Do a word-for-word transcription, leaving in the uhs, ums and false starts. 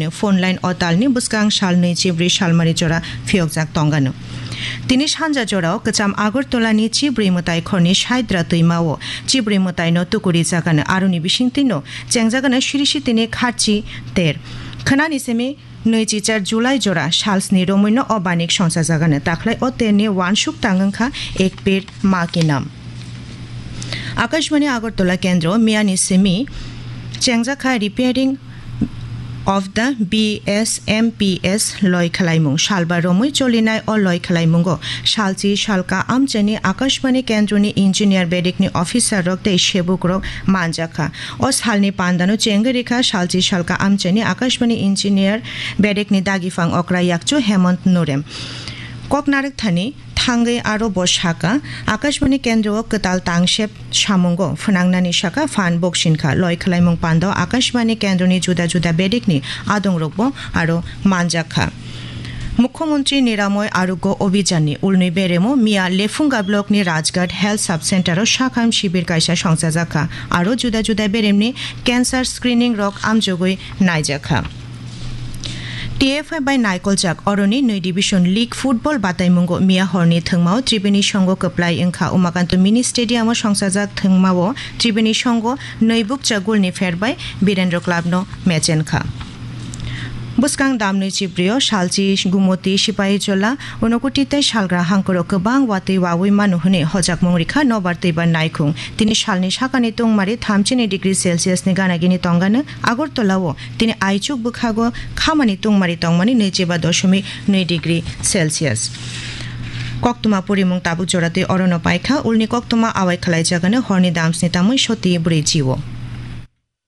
Phone line o talni bwskang sal nwi chibrwi salmari jora phiyokjak tongano. Tini sanja jorao kwcham Agartala ni chibrwi mwtai khorni Saidra twima o chibrwi mwtai no tukuri jagano, aroni bisingtwi no chengjagano sirisi tini kharchi ter. Khwnani simi nwi chichar July jora salsni romwi no o banik songchajagano, takhlai o terni wansuk tang wngkha ek ped ma ki nam. Akashbani Agartala kendro miyani simi chengjakha repairing of the B S M P S loi khwlaimung. Salba romwi cholinai o loi khwlaimungo salchi salka amchaini Akashbani kendroni engineer bedekni officer rok tei sebuk rok manjakha. O salni pandano chengwi rikha salchi salka amchaini Akashbani engineer bedekni dagiphan okra yakchu Hemant Nurem. Koknarwk thani thangwi aro bo saka, Akashbani kendro o kwtal tangsep samungo phwnangnani saka phan boksinkha. Loi khwlaimung pando Akashbani kendroni juda juda bedekni adongrokbo aro manjakha. Mukhyamantri Niramoy Arogya Obhijanni ulnwi beremo miya Lephunga blockni Rajghat Health Sub Centero sakham shibir kaisa songchajakha, aro juda juda beremni cancer screening rok amjogwi naijakha. T F I bai naikoljak oroni nwi division league football bataimungo miya horni thwngmao Tribini Songho kwplai wngkha. Umakanto Mini Stadium o songchajak thwngmao Tribini Songho nwi bukcha goal ni pher bai Birendra Club no mechenkha. Bwskang damnwi chibrio salchi Gumoti, Sipahijola, Unakoti tei Salgra hangkoro kwbang watwi wawi mano hwnwi hojakmung rikha nobar twibar naikhung. Tini salni sakani tungmari thamchini degree Celsius ni gana gini tongano. Agartala o tini aichuk bwkhago khamani tungmari tongmani nwichiba doshomik nwi degree Celsius. Koktwma purimung tabuk joratwi orono paikha, ulni koktwma awai khwlaijagano horni damsni tamwi soti brwi jio.